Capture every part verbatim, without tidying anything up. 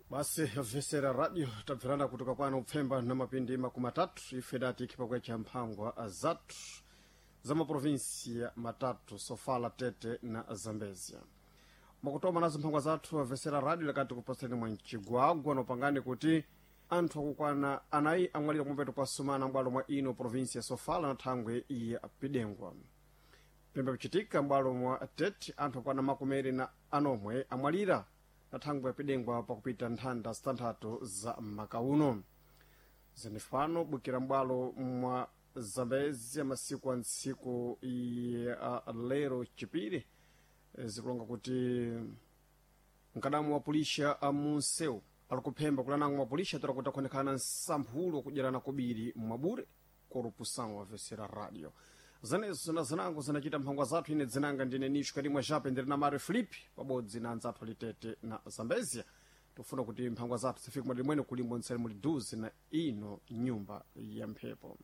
Basi vesera radio tabverana kutoka kwano upfemba na mapindi makumi matatu ife dati ikhipakwe cha mphangwa zathu za maprovinsia matatu Sofala, Tete na Zambezia. Mwakutoma nazo mphangwa zathu avesera radio lakati kupasani mwa mchigwagwa nopangani kuti anthu akukwana anayi amwalira kumpeto kwa sumana m'bwalo mwa ino provinsia ya Sofala na thangwe ya Pidengwa. Pembe kuchitika m'bwalo mwa Tete anthu akwana makumi na anomwe amwalira na thangwe ya Pidengwa pakupita nthanda zitanthatu za makauno. Zenefano bukira m'bwalo mwa Zambezia masiku a ntsiku ya lero chipiri zikulonga kuti mkadamu wa pulisha amunseu ali kuphemba kulanango mapulisha atola kuti akhonekana nsamphulo wakudyerana kobiri mwabure korupusão wavesera radio zanezo na zinango zinachita mphangwa zathu. Ine dzinanga ndine Nisho Karimwa Jape ndiri na Mario Filipe pabodzi na anzathu alitete na Zambezia. Tofuna kuti mphangwa zathu zifike mwadiri mwene kulimbo ntseri muli duzi na ino nyumba ya mphepo.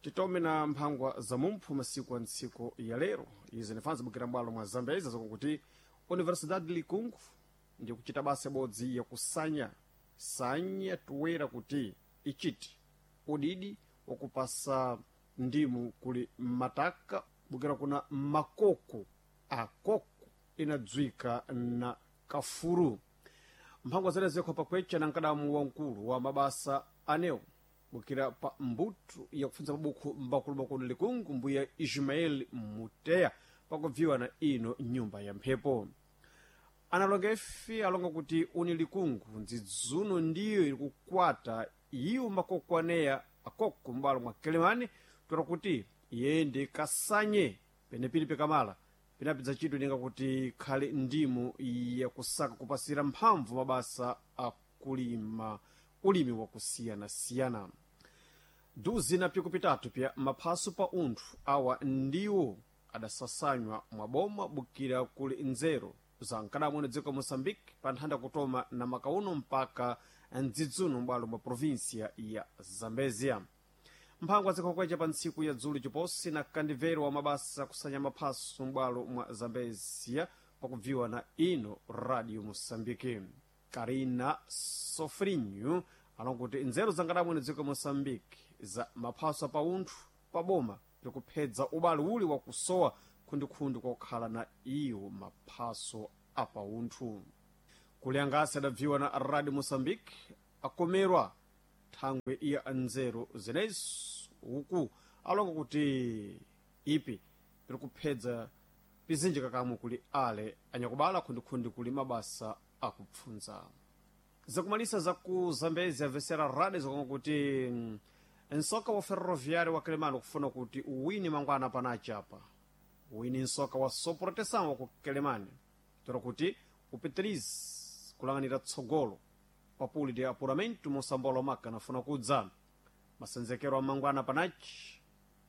Titome na mphangwa za mumphu masiku a ntsiku ya lero. Izi nifanzi bukira mbwalo mwa Zambeza zakuti Universidade Likungu ndi kuchita basa ibodzi yakusanya sanya tuwera kuti ichiti udidi wakupasa ndimu kuli mataka bukira kuna makoko akoko inadzwika na kafuru. Mphangwa zene zikho pakwecha na mkadamu wamkulu wa mabasa anewo bukira pa mbuto yakupfunza mabukhu mbakulumakulu Likungu mbuya Ismael Muteya pakubviwa na ino nyumba ya mphepo. Analonga ife alonga kuti uni Likungu ndzidzuno ndiyo ili kukwata iwo makoko aneya akoko m'bwalo mwa Kelemani tola kuti iyende kasanye penepili pikamala pinapidza chidwi ninga kuti khale ndimu yakusaka kupasira mphamvu mabasa akulima ulimi wakusiyanasiyana. Duzi na piku pitatu pya maphaso pa unthu awa ndiwo adasasanywa mwaboma bukira kuli nzeru za mkadamwene dziko Moçambique pa nthanda kutoma na makauno mpaka mdzidzuno m'bwalo mwa provinsia ya Zambezia. Mphangwa zikhokwecha pa ntsiku ya dzulo chiposi na kandivero wa mabasa akusanya maphaso m'bwalo mwa Zambezia pakubviwa na ino Radio Moçambique. Karina Sofrinho alonga kuti nzeru za nkadamwene dziko Moçambique za maphaso pa unthu pa boma likuphedza ubale uli wakusowa khundikhundi kokhala na iwo maphaso apaunthu. Kuliyangasi adabviwa na Radio Moçambique akomerwa thangwe iya nzeru zenezi uku alonga kuti ipi likuphedza pizinji kakamwe kuli ale anyakubala khundikhundi kuli mabasa akupfunza. Zakumalisa zaku Zambezi avesera radio zakonga kuti nsoka wa ferroviário wa Quelimane kufuna kuti uwini mangwana panachi apa uwini nsoka wa soproteção wa ku Quelimane tola kuti upitirize kulang'anira tsogolo papuli de apuramento mosambolo maka nafuna kudza masenzekero a mangwana panachi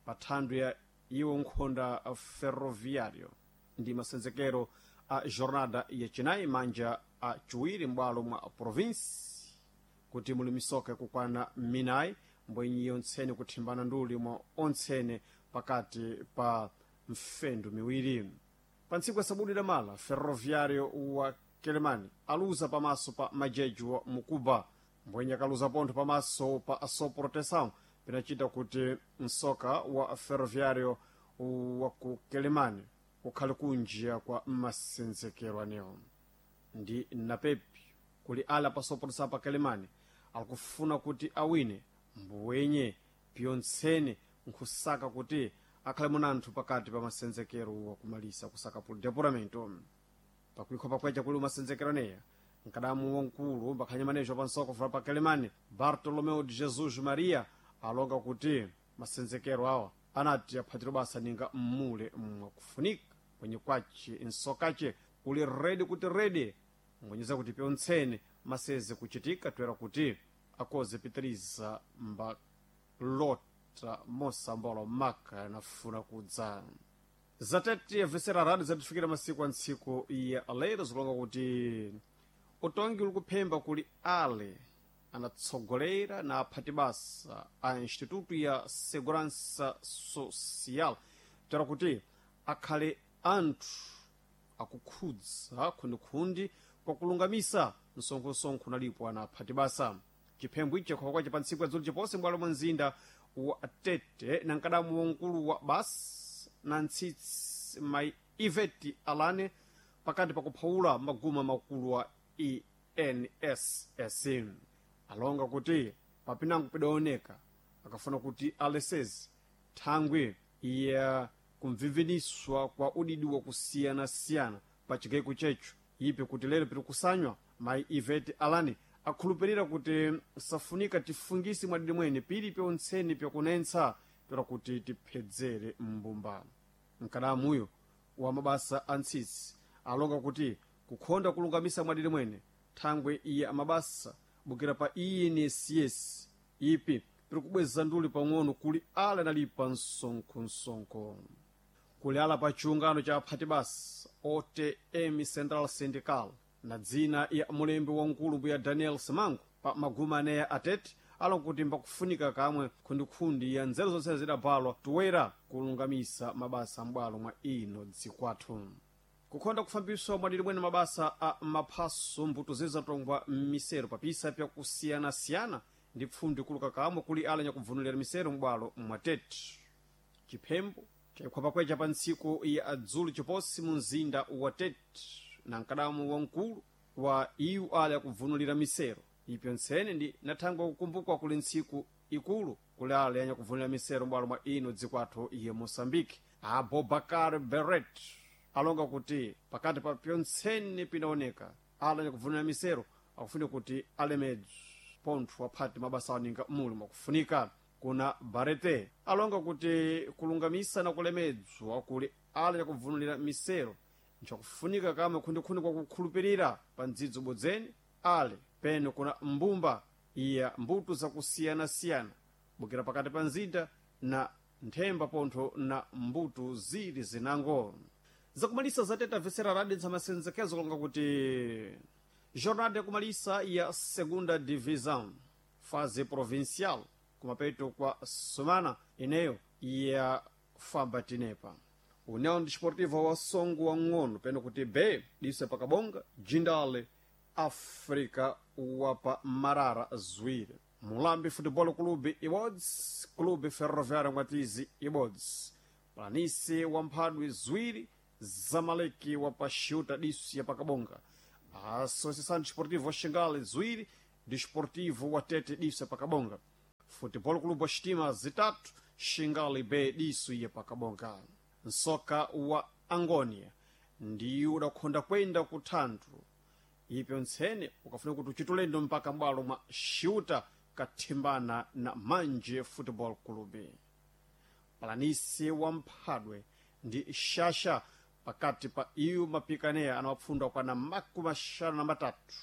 pa thandu ya iwo nkhonda ferroviário ndi masenzekero a jornada yacinayi manja a chiwiri m'bwalo mwa provinsi kuti muli misoka yakukwana minayi mbwenyi yontsene kuthimbana nduli mwa ontsene pakati pa mfendu miwiri. Pa ntsiku ya sabudu idamala ferroviário wa Quelimane aluza pamaso pa majeji wa Mukuba mbwenyi akaluza pontho pamaso pa Asoproteção pinachita kuti msoka wa ferroviário wa ku Quelimane ukhale kunjia kwa masenzekero anewo. Ndi napepi kuli ala pasoproteção pa Quelimane akufuna kuti awine mbwenye piyontsene nkhusaka kuti akhale munanthu pakati pa masenzekero wakumalisa kusaka puli depuramento. Pakuikho pakwecha kuli masenzekero aneya mkadamu wamkulu mbakhanyamanezho pansoko fula pa Quelimane Bartolomeu de Jesus Maria alonga kuti masenzekero awa anati aphatiro basa ninga mmule mwakufunika kwenye kwace nsokace uli redi kuti redi ngwenyeza kuti pyontsene maseze kuchitika toera kuti akoze pitiriza mbalota mosambolo maka nafuna kudza. Zatete vesera radio zatifikira masiku a ntsiku ya lero zikulonga kuti utongi uli kuphemba kuli ale anatsogolera na aphati basa a Instituto ya Segurança Social toera kuti akhale anthu akukhudza khundikhundi kwa kulungamisa msonkhosonkho nalipo anaphati basa. Chiphembo ichi chakhowa kwace pa ntsiku ya dzulo chipose m'bwalo mwa mzinda wa Tete na mkadamu wamkulu wa basi na ntsitsi mai Iveti Alane pakati pakuphawula maguma makulu wa E N S S alonga kuti papinango pidaoneka akafuna kuti alesezi thangwi ya kumviviniswa kwa udidi wa kusiyanasiyana pa chigaiko checho ipi kuti lero pitikusanywa. Mai Ivete Alani akhulupirira kuti safunika tifungisi mwadidi mwene pili pyontseni pyakunentsa tola kuti tiphedzere mbumba. Mkadamuyo wa mabasa a ntsitsi alonga kuti kukhonda kulungamisa mwadidi mwene thangwe iya mabasa bukira pa E N S S ipi pirikubweza nduli pang'ono kuli ala analipa msonkhosonkho kuli ala pa chiungano cha aphati basa O T M Central Syndical na dzina ya mulembi wamkulu mbuya Daniel Simango pa maguma aneya atete alonga kuti mbakufunika kamwe khundikhundi ya nzeru zonse zidabalwa toera kulungamisa mabasa m'bwalo mwa ino dzikwathu. Kukhonda kufambiswa mwadidi mwene mabasa a maphaso mbuto zizatongwa m'misero papisa pyakusiyanasiyana ndi pfundo ikuluka kamwe kuli ala nyakubvunulira misero m'bwalo mwa Tete. Chiphembo chayikhwapakwecha pa ntsiku ya adzulu chiposi mu mzinda wa Tete na mkadamu wamkulu wa iwu ala yakubvunulira misero ipyo ntsene ndi nathangwe kukumbukwa kuli ntsiku ikulu kuli ala yanyakubvunulira misero m'bwalo mwa ino dzikwathu ya Moçambique. Abubakar Beret alonga kuti pakati pa pyontsene pinaoneka ala nyakubvunulira misero akufunika kuti alemedzi pontho aphati mabasa aninga muli mwakufunika. Kuna Barete alonga kuti kulungamisa na kulemedzwa kuli ala yakubvunulira misero nchakufunika kamwe khundikhundi kwa kukhulupirira pa ndzidzo bodzeni ale peno kuna mbumba iya mbuto zakusiyanasiyana bukira pakati pa mzinda na nthemba pontho na mbuto zili zinango. Zakumalisa zateta vesera radi ntsamasenzekezo kulonga kuti jornada yakumalisa ya Segunda Divisão fase provincial kumapeto kwa sumana ineyo ya famba tinepa União Desportiva wa Songo wa ng'ono peno kuti B dise pakabonga Jindale Africa wapa Marara Zwire Mulambi Futebol Clube ibodzi Clube Ferroviário Mwatizi ibodzi Planise wa Mphadwe Zwiri Zamaleki wapa Xiuta diso ya pakabonga Associação Desportiva wa Xingale Zwiri Desportivo wa Tete diso ya pakabonga Futebol Clube wa Xitima zitatu Xingale B diso ya pakabonga. Nsoka wa Angonia ndi udakhonda kwenda kuthandu ipyo ntsene ukafuna kuti uchitulendo mpaka m'bwalo mwa Xiuta kathimbana na Manje Football Club. Palanise wa Mphadwe ndi Xaxa pakati pa iyu mapikaneya anawapfunda kwana makumi axanu na matatu.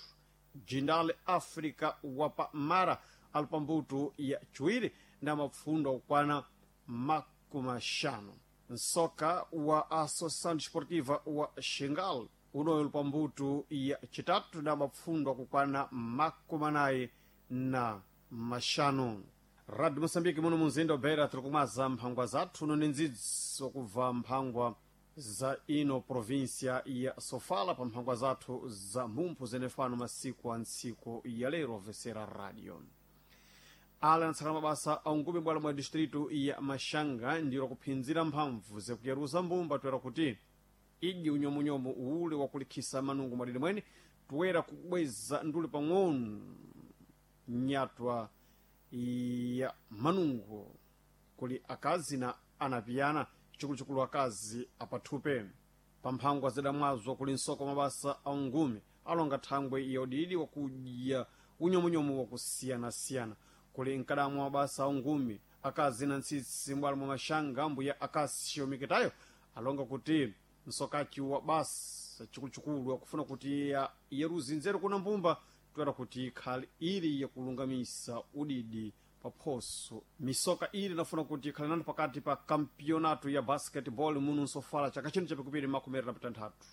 Jindale Africa wapa Mara ali pa mbuto ya chiwiri ndi amapfunda kukwana makumi axanu. Nsoka wa Associação Desportiva wa Xingal unoyo uli pa mbuto ya chitatu ndi amapfundwa kukwana makumi anayi na maxanu. Radio Moçambique muno mumzinda wa Beira tiri kumaza mphangwa zathu uno ni ndzidzi wakubva mphangwa za ino província ya Sofala pa mphangwa zathu za mumphu zenefano masiku a ntsiku ya lero vesera radio. Ala anatsakana mabasa aungumi bwalo mwa distrito ya Maxanga ndiro kuphinzira mphamvu zakuyaruza mbumba toera kuti idyi unyomunyomu ule wakulikhisa manungo mwadidi mwene toera kubweza nduli pang'ono nyatwa ya manungo kuli akazi na anapiyana chikuluchikulu akazi apathupe pamphangwa zidamwazwa kuli nsoko mabasa aungumi alonga thangwe ya udidi wakudya unyomunyomu wakusiyanasiyana kuli mkadamu mabasa aungumi akazi na ntsitsi mbwalo mwa Maxanga mbuya Akasio Mikitayo alonga kuti msokachi wa basa chikuluchikulu akufuna kuti ya yeruzi nzeru kuna mbumba toera kuti ikhale ili yakulungamisa udidi paphoso. Misoka ili inafuna kuti ikhale nanu pakati pa kampionato ya basketball muno nsofala chaka chino chapikupiri makumi na pitanthatu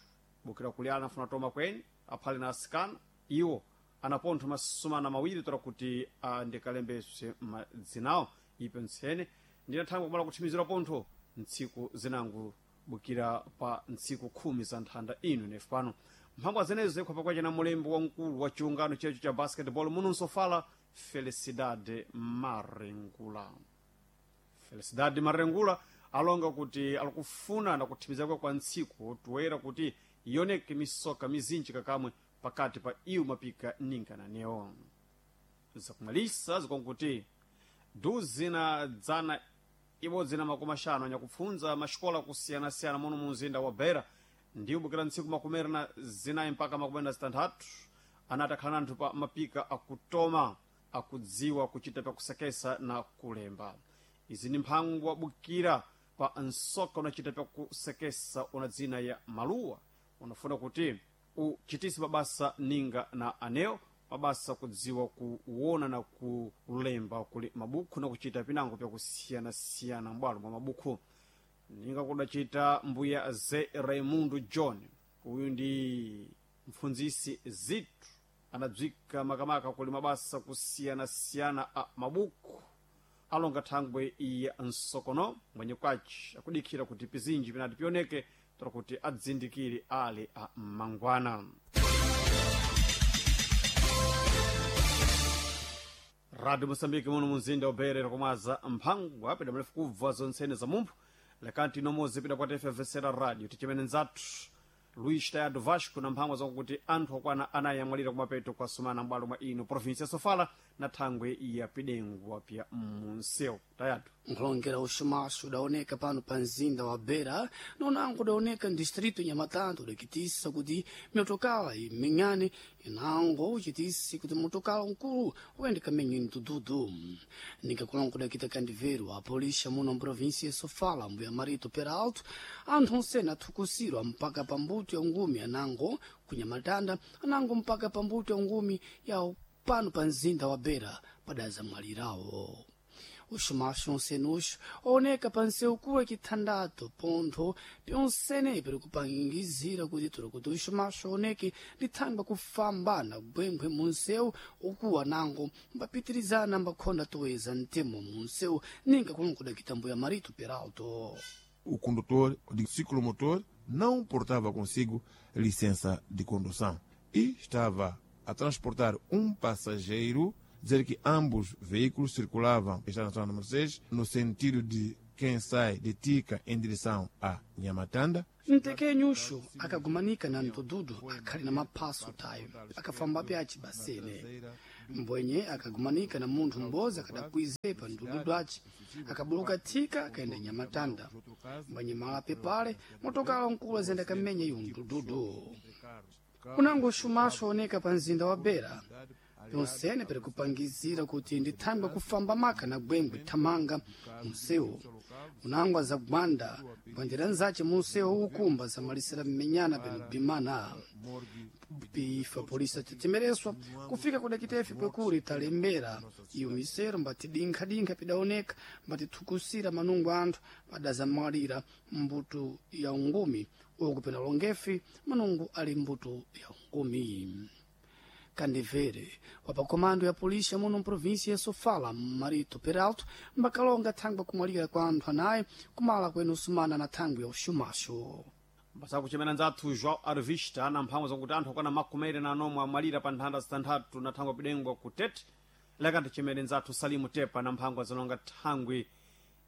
bukira kuli ana afuna toma kweni aphale na asikana iwo anapontho masumana mawiri toera kuti andikalembeswe madzinawo ipo ntsene ndinathangwe kumala kuthimizira pontho ntsiku zinango. bukira pa ntsiku khumi za nthanda ino nefu pano mphangwa zenezo zikhwapa kwace na mulembo wamkulu wa chiungano checho cha basketball muno nsofala Felicidade Marengula. Felicidade Marengula alonga kuti alikufuna na kuthimizakwe kwa ntsiku toera kuti ioneke misoka mizinji kakamwe pakati pa iwo mapika ninga na neo. Zakumalisa zikonkuti duzi na dzana ibodzi na makumi axanu anyakupfunza maxikola kusiyanasiyana muno mu mzinda wa Beira ndi ubukira ntsiku makumi na zinayi mpaka makumi na zitanthatu anati akhala nanthu pa mapika akutoma akudziwa kuchita pakusekesa na kulemba. Izi ndi mphango wabukira pa nsoka unachita pakusekesa una dzina ya maluwa unafuna kuti uchitise mabasa ninga na aneo mabasa kudziwa kuwona na kulemba kuli mabukhu na kuchita pinango pyakusiyanasiyana mbwalo mwa mabukhu ninga kudacita mbuya ze Raimundo John. Uyu ndi mpfunzisi zitu anabzika makamaka kuli mabasa kusiyanasiyana a mabukhu alonga thangwe ya nsokono mwenye kwaci akudikhira kuti pizinji pinati pioneke tora kuti adzindikire ali a mangwana. Radio Moçambique muno munzinda uberera kumwaza mphangwa apida mrefu kubva zontsene za mumphu lekanti inomozi pida kwa T F vesera radio tichimene nzathu Luís Tayado Vasco na mphangwa zakuti anthu akwana anayi amwalira kumapeto kwa sumana m'bwalo mwa ino provinsi ya Sofala na thangwe ya Pidengwa pya munsewu. Tayado Nkulongera uxumaxo udaoneka pano pa mzinda wa Beira nonango udaoneka ndistrito Nhamatanda udakitisa kuti mitokala imenyane inango uchitisi kuti motokala nkulu uyende kamenyeni tududu. Ningakulongo udakita kandiveru a polícia muno mprovinsia ya Sofala mbuya Marito Peralto anthu onsene athukusirwa mpaka pa mbuto ya ngumi anango kunyamatanda anango mpaka pa mbuto ya ngumi ya pano pa mzinda wa Beira padazamwalirawo. Uxumaxo onsenuxo ooneka pa nsewu kuwa kithandato pontho pyonsene piri kupangizira kuti tuli kuti uxumaxo oneke lithangwa kufambana gwengwe munsewu ukuwa nango mbapitirizana mbakhonda toeza mtemo munsewu ninga kulongoda kitambo ya Marito Peralto. O condutor de ciclomotor não portava consigo licença de condução e estava a transportar um passageiro, dizer que ambos veículos circulavam Estrada Nacional número seis no sentido de quem sai de Tica em direção a Nhamatanda. Mtekenyuxo akagumanika na ntududu akhali na maphaso tayo akafamba pyaci basene mbwenye akagumanika na munthu m'bozi akadakwizepa ntududu aci akabuluka thika akaenda Nhamatanda mbwenye malape pale motokala nkulu azenda kamenya iwo ntududu. Unango uxumaxo oneka pa mzinda wa Beira yonsene piri kupangizira kuti ndithangwe kufamba maka na gwengwe thamanga munsewu unango azagwanda bwandira nzace munsewu ukumba zamalisira mmenyana peno bimana pifa polisi atetemereswa kufika kudakitefe kwekuli talembera iyo misero mbati dinkha-dinkha pidaoneka mbatithukusira manungo anthu padazamwalira mbuto ya ungumi uku pena longefi manungo ali mbuto ya ungumi. Kandivere wa pakomando ya polícia muno mprovíncia ya Sofala Marito Peralto mbakalonga thangwe kumwalira kwa anthu anayi kumala kwenu sumana na thangwe ya uxumaxo. Mbasakuchemera nzathu João Arvista na mphamvu zakuti anthu akwana makumi na anomwe amwalira pa nthanda zitanthatu na thangwe pidengwa ku Tete. Lekati chimene nzathu Salimu Tepa na mphangwa zalonga thangwi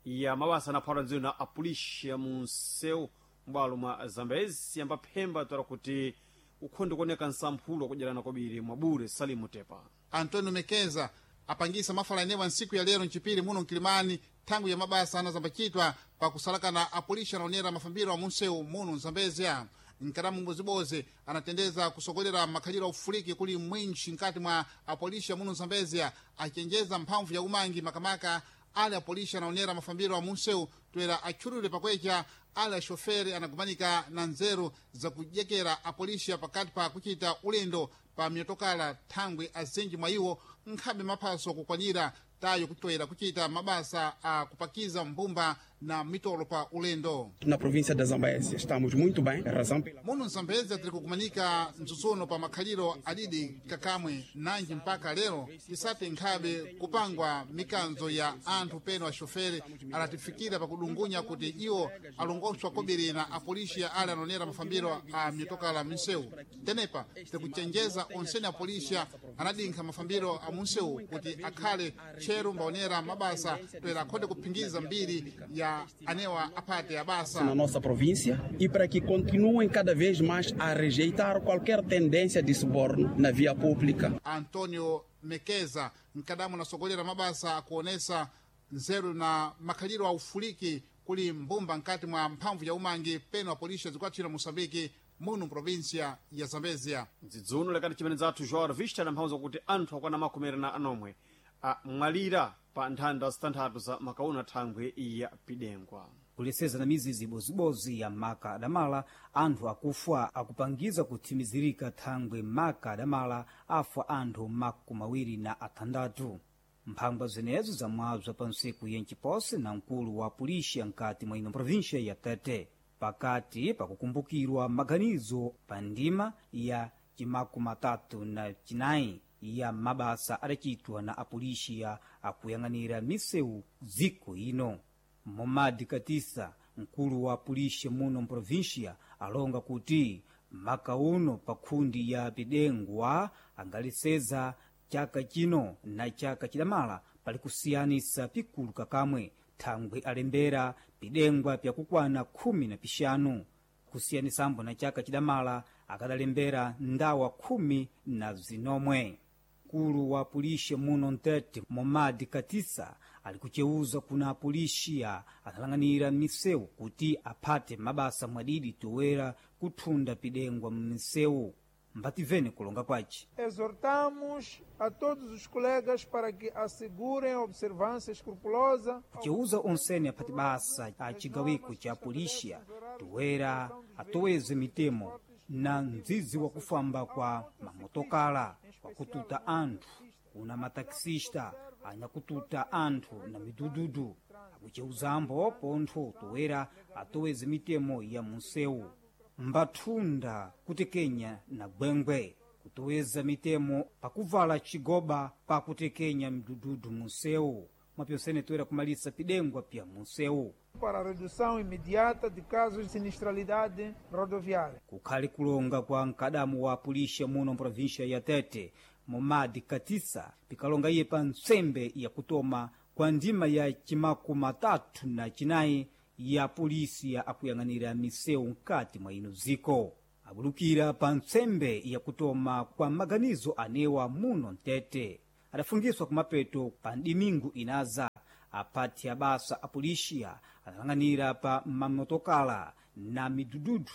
ya mabasa anaphwala ndziwo na apulisha mu msewu m'bwalo mwa Zambezi yambaphemba tola kuti ukhondi kuoneka nsamphulo kudyerana kwabiri mwabure. Salimu Tepa. Antônio Mekeza apangisa mafala enewa ntsiku ya lero mchipiri muno mkilimani thangwi ya mabasa anazambachitwa pakusalakana apulisha anaonera mafambiro a munsewu muno mzambezia. Nkaramu mbozibozi anatendeza kusogolera makhaliro a ufuliki kuli mwinchi nkati mwa apolisha muno mzambezia achenjeza mphamvu ya umangi makamaka ale apolisha anaonera mafambiro a munsewu toera atchulule pakwecha ale axofere anagumanika na nzeru zakudyekera apolisha pakati pa kuchita ulendo pa miyotokala thangwi azinji mwa iwo nkhabe maphaso kukwanira tayo kutoera kuchita mabasa a kupakiza mbumba Na mitolo pa ulendo. Na província da Zambésia estamos muito bem, razão pela Muno Mzambezia tiri kukumanika mtsutsuno pa makhaliro adidi kakamwe nanji mpaka lero isati nkhabe kupangwa mikanzo ya anthu peno axofere alatifikira pakudungunya kuti iwo alongoswa kobiri na apolisiya ali anonera mafambiro a mitokala minsewu. Tenepa tikuchenjeza onsene apolisiya anadinkha mafambiro a munsewu kuti akhale tcheru mbaonera mabasa toera akhonde kuphingiza mbiri ya anewa aphate abasa. Na nossa província e para que continuem cada vez mais a rejeitar qualquer tendência de suborno na via pública. Antonio Mekeza mkadamu anasogolera mabasa akuonesa nzeru na makhaliro a ufuliki kuli mbumba nkati mwa mphamvu ya umangi peno apolisi zikwathira Moçambique muno província ya Zambezia. Mdzidzuno lekati chimene zathu Joao Vista na mphamvu zakuti anthu akwana makumi na anomwe amwalira pa nthanda zitanthatu za makauna thangwe ya pidengwa. Kuleseza na mizizi ibozibozi ya maka adamala anthu akufa akupangiza kuthimizirika thangwe maka adamala afa anthu makumi awiri na athandatu. Mphangwa zenezo zamwabza pa ntsiku yenciposi na mkulu wa pulixa nkati mwa ino província ya Tete pakati pakukumbukirwa maganizo pa ndima ya cimakumi atatu na cinayi ya mabasa adacitwa na apulixiya akuyang'anira misewu dziko ino. Momadi Katisa, mkulu wa pulixa muno mprovíncia, alonga kuti maka uno pa khundi ya pidengwa angaleseza chaka chino na chaka chidamala pali kusiyanisa pikulu kakamwe thangwe alembera pidengwa pyakukwana khumi na pixanu kusiyanisambo na chaka chidamala akadalembera ndawa khumi na zinomwe. Mkulu wa pulixa muno Ntete Momadi Katisa ali kuceuza kuna apulixiya analang'anira misewu kuti aphate mabasa mwadidi toera kuthunda pidengwa mmisewu. Mbativene kulonga kwace. Exortamos a todos os colegas para que assegurem a observância escrupulosa. Kuceuza onsene aphati basa a cigawiko ca pulixiya toera atoweze mitemo na mdzidzi wa kufamba kwa mamotokala kwakututa anthu kuna matakisista anyakututa anthu na midududu akuceuzambo pontho toera atoweze mitemo ya munsewu mbathunda kutekenya na gwengwe kutoweza mitemo pakuvala cigoba pakutekenya midududu munsewu mwapyonsene toera kumalisa pidengwa pya munsewu para a redução imediata de casos de sinistralidade rodoviária. Kukhali kulonga kwa mkadamu wa pulixa muno mprovíncia ya Tete Momadi Katisa pikalonga iye pa ntsembe yakutoma kwa ndima ya cimakumi atatu na cinayi ya polisi ya akuyang'anira misewu nkati mwa ino dziko abulukira pa ntsembe yakutoma kwa maganizo anewa muno Mtete adafungiswa kumapeto pa dimingu inaza aphati abasa apolisiya analang'anira pa mamotokala na midududu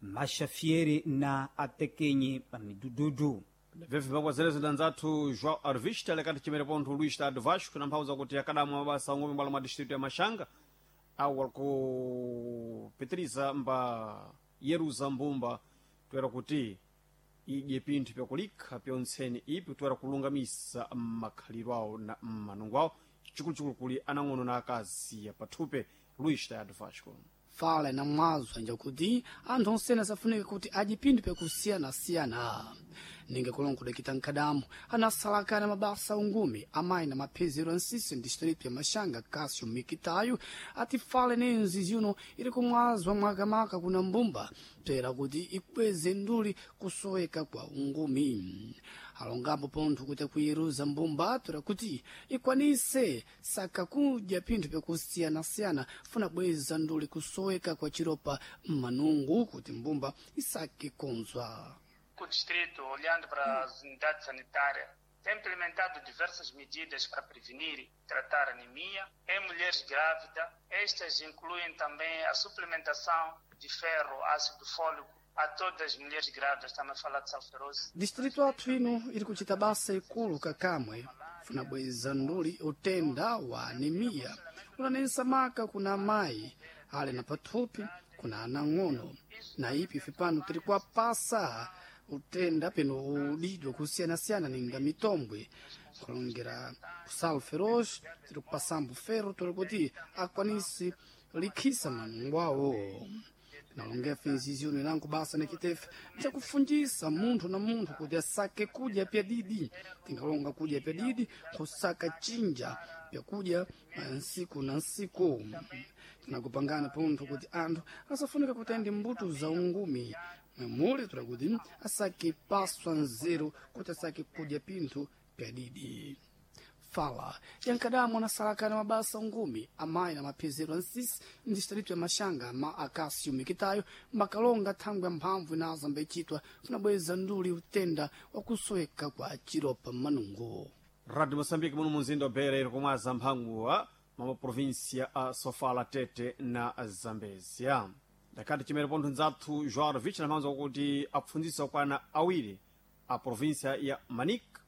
maxafiere na atekenye pa midududu. Bvevi pangwa zelezo danzathu Joao Arvista lekati chimene pontho Luís Tado Vasco na mphamvu zakuti akadamu mabasa ong'omi mbalo mwa distrito ya Machanga awo alikupitiriza mba yeruza mbumba toera kuti idye pinthu pyakulikha pyontsene ipi toera kulungamisa makhaliro awo na manungo awo chikuluchikulu kuli anang'ono na akazi pathupe. Luís Tado Vasco. Fala na mwazo njakuti anthu onsene asafunika kuti adye pinthu pyakusiyanasiyana ninga kulonga kudakita mkhadamu anasalakana mabasa ungumi amayi na maphezero a nsisi distrito ya Maxanga Cássio Mikitayo ati fala nenzi zino ili kumwazwa mwakamaka kuna mbumba pera kuti ikweze nduli kusoweka kwa ungumi. Alongambo pontho kuti akuyeruza mbumba tora kuti ikwanise saka kudya pinthu pyakusiyanasiyana funa bweza nduli kusoweka kwa chiropa mmanungu kuti mbumba isake konzwa. O distrito, olhando para as unidades sanitárias, tem implementado diversas medidas para prevenir e tratar anemia em mulheres grávidas. Estas incluem também a suplementação de ferro, ácido fólico a todas as mulheres grávidas. Estamos a falar de salferose. Distrito athu ino ili kuchita basa ikulu kakamwe funa bweza nduli utenda wa anemia unanensa maka kuna amayi ali na pathupi kuna anang'ono na ipi ife pano tili kuwapasa utenda peno udidwa kusiyanasiyana ninga mitombwe Nkalongera kusala feroz tiri kupasambo ferro tuli kuti akwanise likhisa manungo awo. Tinalongefa inziziro inango basa nikitefe bzakufundisa munthu na munthu kuti asake kudya pyadidi. Tingalonga kudya pyadidi kusaka chinja pyakudya nsiku na nsiku. Tinakupangana pontho kuti anthu asafunika kutende mbuto za ungumi mwemuli tula kuti asake paswa nzeru kuti asake kudya pinthu pyadidi. Fala yankadamwa anasalakana mabasa ungumi amayi na maphezero ansisi ndi distrito ya Maxanga ma Acácio Mikitayo makalonga thangwi ya mphamvu inaza mbaichitwa kunabweza nduli utenda wakusoweka kwa chiropa m'manungo. Radio Moçambique muno munzinda wa Beira iri kumwaza mphanguwa mwa maprovinsia a Sofala, Tete na Zambezia. Ndakati chimene pontho nzathu João Rovich namhanza kuti apfundzisa okwana awiri a provinsia ya Manica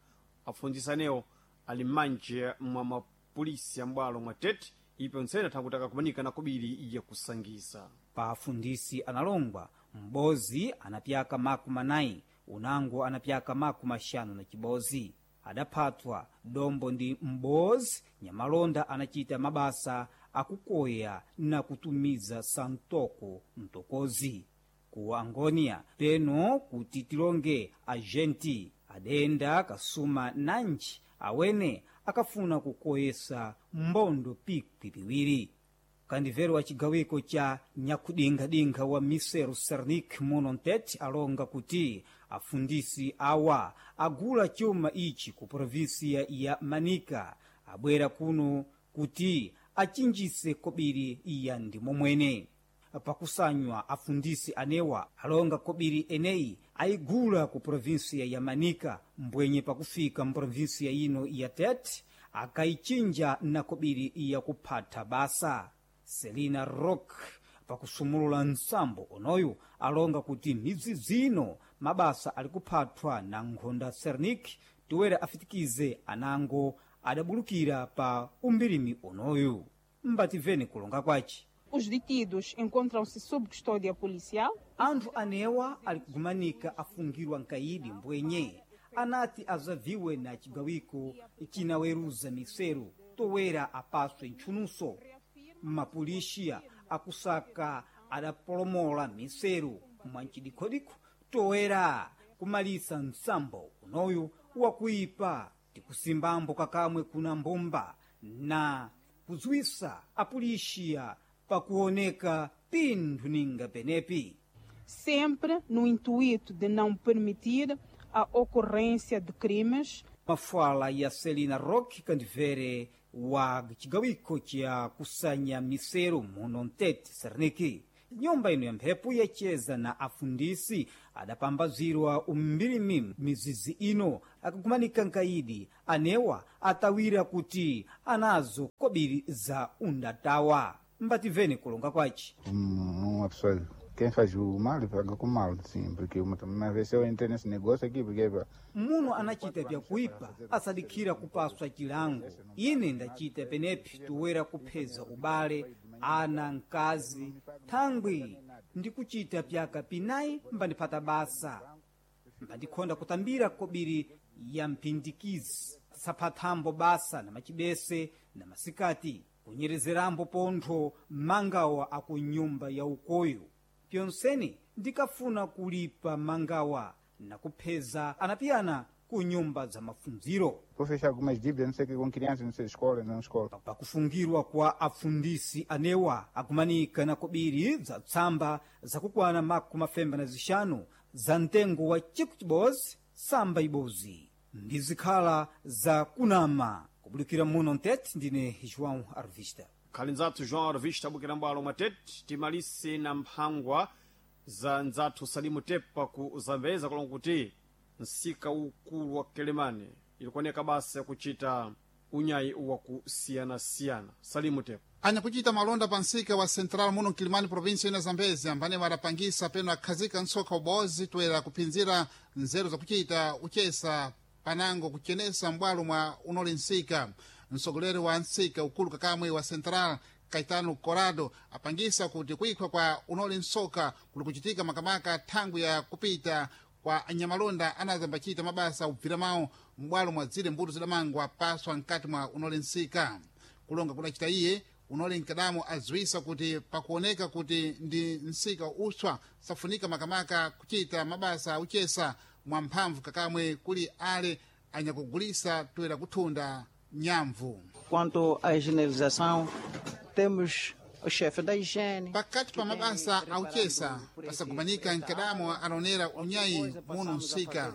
apfundzisa anewo ali m'manje mwa mapolisi ya m'bwalo mwa Tete ipo ntsene thankuti akakumanika na kobiri yakusangiza. Pa afundisi analongwa m'bozi anapyaka makumi anayi unango anapyaka makumi axanu na chibozi. Adaphatwa dombo ndi m'bozi nyamalonda anachita mabasa akukoya na kutumiza santoko mtokozi ku Angônia peno kuti tilonge agenti adenda kasuma nanji awene akafuna kukoyesa mbondo pikwi piwiri. Kandivero wa chigawiko cha nyakudingadinkha wa Miseru Sernik muno Ntete alonga kuti afundisi awa agula chuma ichi ku provinsia ya Manica abwera kuno kuti achinjise kobiri iya ndimo mwene. Pakusanywa afundisi anewa alonga kobiri eneyi ayigula ku provinsia ya Manica mbwenye pakufika mprovinsia ino ya Tete akayichinja na kobiri ya kuphatha basa. Selina Rock pakusumulula nsambo onoyu alonga kuti midzi zino mabasa ali kuphathwa na nkhonda Sernik toera afitikize anango adabulukira pa umbirimi onoyu. Mbativene kulonga kwace. Os detidos encontram-se sob custódia policial. Anthu anewa ali kugumanika afungirwa nkaidi mbwenye anati azaviwe na chigawiko chinaweruza miseru towera apaswe ntchunuso. Mapulixiya akusaka adapolomola miseru mwancidikodiko toera kumalisa nsambo unoyu wakuipa tikusimbambo kakamwe kuna mbumba na kudziwisa apulixiya pakuoneka pinthu ninga penepi. Sempre no intuito de não permitir a ocorrência de crimes. Mafala ya Celina Rock kandivere wa chigawiko cha kusanya miseru muno Ntete Serniki. Nyumba ino ya mphepo yacheza na afundisi adapambazirwa umbirimi mizizi ino akakumanika nkaidi anewa atawira kuti anazo kobiri za undatawa. Mbativene kulonga kwace. Uma pessoa, quem faz o mal paga com mal, sim, porque uma, uma vez eu entrei nesse negócio aqui, porque muno anachita byakuipa asadikhira kupaswa chilango. Ine ndachita penepi toera kupheza ubale ana mkazi thangwi ndikuchita pyaka pinayi mbandiphata basa mbandikhonda kutambira kobiri ya mphindikizi saphathambo basa na machibese na masikati kunyerezerambo pontho mangawa aku nyumba ya ukoyo. Pyonseni ndikafuna kulipa mangawa na kupheza anapiyana ku nyumba za mafunziro. Vou fechar algumas dívidas, não sei o que, com crianças, não sei, escola, não escola. Pakufungirwa kwa afundisi anewa akumanika na kobiri za tsamba zakukwana makumi mafemba na zixanu za mtengo wa chiku chibozi samba ibozi ndizikhala za kunama. Kubulukira muno Ntete, ndine João Arvista. Khali nzathu João Arvista abukira mbwalo mwa Tete timalise na mphangwa za nzathu Salimu Tepa ku Zambeza kulonga kuti nsika ukulu wa Kelemane ilikuoneka basa yakuchita unyayi wakusiyanasiyana. Salimu Tepa Anyakuchita malonda pa nsika wa Central muno Mkilimani província ina Zambezi ambane warapangisa peno akhazika nsokha ubozi toera kuphinzira nzeru zakuchita uchesa panango kuchenesa m'bwalo mwa unoli nsika. Mtsogoleri wa nsika ukulu kakamwe wa Central Caetano Corado apangisa kuti kuikhwa kwa unoli nsoka kuli kuchitika makamaka thangwi ya kupita kwa anyamalonda anazambachita mabasa ubvira mawo m'bwalo mwa zile mbuto zidamangwa paswa mkati mwa unole nsika. Kulonga kudacita iye unole mkadamo aziwisa kuti pakuoneka kuti ndi nsika uswa safunika makamaka kuchita mabasa auchesa mwamphamvu kakamwe kuli ale anyakugulisa toera kuthunda nyamvu. Quanto à higienização, temos o chefe da higiene. Pakati pa mabasa auchesa pasakumanika mkadamo anaonera unyayi muno msika,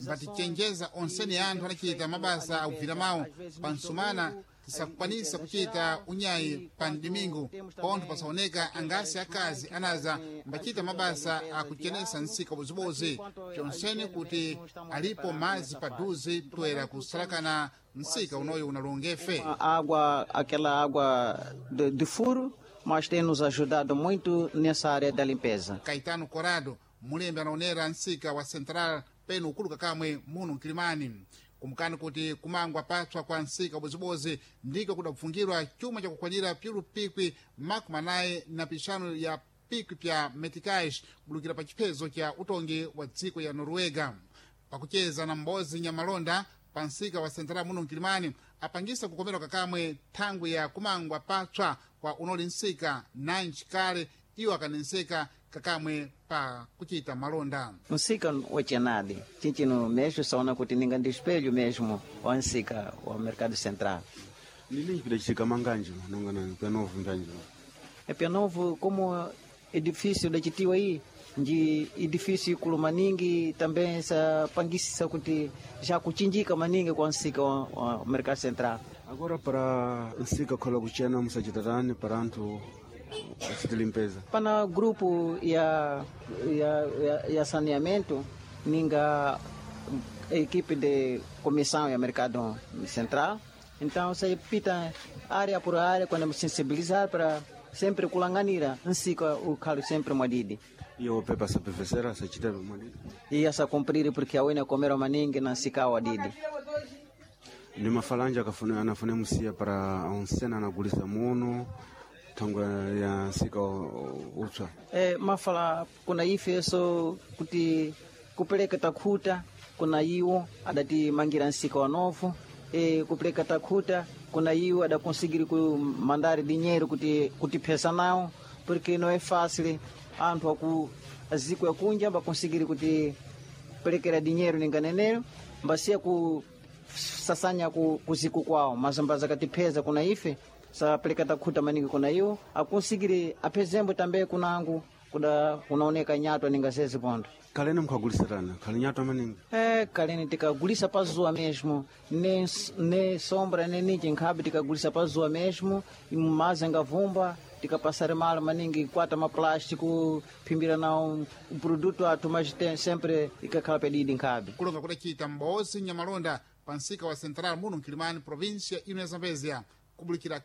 mbatichenjeza onsene anthu anachita mabasa aubvira mawo pansumana tisakukwanisa kuchita unyayi pa mdimingu pontho pasaoneka angasi akazi anaza mbachita mabasa akuchenesa nsika bozibozi chonsene kuti alipo mazi paduze toera kusalakana nsika unoyo unalongefe. Água, aquela água de, de furo, mas tem nos ajudado muito nessa área da limpeza. Caetano Corado, mulembe anaonera nsika wa Central peno ukuluka kamwe muno mkilimani kumkani kuti kumangwa patswa kwa nsika bozibozi ndiko kudapfungirwa chuma chakukwanira pyulu pikwi makumi anayi na pixanu ya pikwi pya meticais kubulukira pa chiphezo cha utongi wa dziko ya Noruega. Pakucheza na mbozi nyamalonda pa nsika wa Central muno mkilimani apangisa kukomerwa kakamwe thangwi ya kumangwa patswa kwa unoli nsika nanji kale iwo akanenseka kakamwe pa kuchita malonda. Nsika wachenadi chinchino mesmo saona kuti ninga ndi espelho mesmo wa nsika wa mercado central. Nini chipita manganjo nonga na penovo mbanjo. É penovo como edifício da chitiwa aí nji edifício ikulu maningi também sa pangisisa kuti já kuchinjika maningi kwa nsika wa, wa mercado central. Agora para nsika khola kuchena musachitatani para anthu achite limpeza. Pana grupo ya, ya, ya, ya saneamento ninga equipe de comissão ya mercado central. Então você pita área por área quando sensibilizar para sempre kulanganira nsika ukhalo sempre mwadidi. E o pepa sapevesera sachita mwadidi. E essa cumprir porque a wina comera maningi na nsika wadidi. Ni mafalanja akafune anafune musiya para onsena anagulisa muno thangwe ya nsika utswa. E, mafala kuna ifeso kuti kupeleka takhuta kuna iwo adatimangira nsika wa novo e, kupeleka takhuta kuna iwo adakonsigiri kumandari dinheiro kuti kutiphesa nawo porque não é fácil anthu aku aziko yakunja bakonsigiri kuti pelekera dinheiro ninganenero mbasiya ku sasanya ku, kuziku kwawo mas mbazakatipheza kuna ife sapeleka takhuta maningi kuna iwo akonsigiri aphezembo também kunangu kuda kunaoneka nyatwa ninga zezi pontho. Kalene mukhagulisirana khali nyatwa maningi. É, kalene tikagulisa pazuwa mesmo, nem, nem sombra nem ninji nkhabe tikagulisa pazuwa mesmo, mazi angavumba tikapassar mal maningi kwata maplástico phimbira nawo um produto athu mas tem sempre ikakhala pedidi nkhabe. Kulonga kudacita mbozi nyamalonda pa nsika wa Central muno mkilimani província ino ya Zambezia kubulikira